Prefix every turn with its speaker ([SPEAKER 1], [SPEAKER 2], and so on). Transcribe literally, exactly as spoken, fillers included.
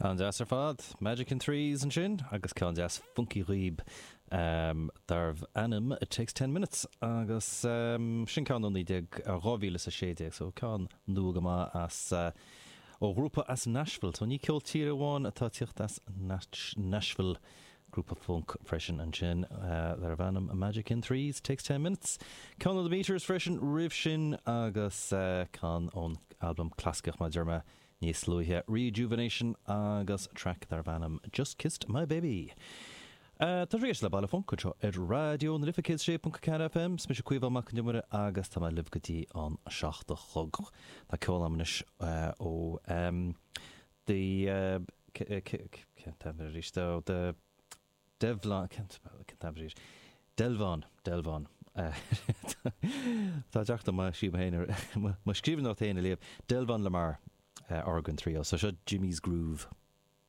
[SPEAKER 1] An-deas ar fad, Magic in Threes ansin agus ceann deas funky dhaoib um, darbh ainm It Takes Ten Minutes agus um, sin ceann ó naoi déag dhá mhíle is a sé déag so ceann nua go maith as uh, ó ghrúpa as Nashville, so ní ceol tíre amháin atá ag teacht as Nashville grúpa funk freisin ansin uh, darbh ainm Magic in Threes Takes Ten Minutes. Ceann ó The Meters freisin roimh sin agus uh, ceann ón albam clasaiceach mar deir mé níos luaithe Rejuvenation agus track darbh ainm Just Kissed My Baby. Uh, tá rééis le baile funk seo ar Raidió na Life céad sé ponc ceathair FM, is mise Caoimhe Mac an Iomaire agus tá mé libh go dtí an seacht a chlog. Tá ceol agam anois uh, ó um, the uh, arís the Devlon arís Delvon Delvon Tá deachta má sí mo scríbhneoireacht féin a léamh Delvon Lamar uh, Organ Trio, so seo Jimmy's Groove.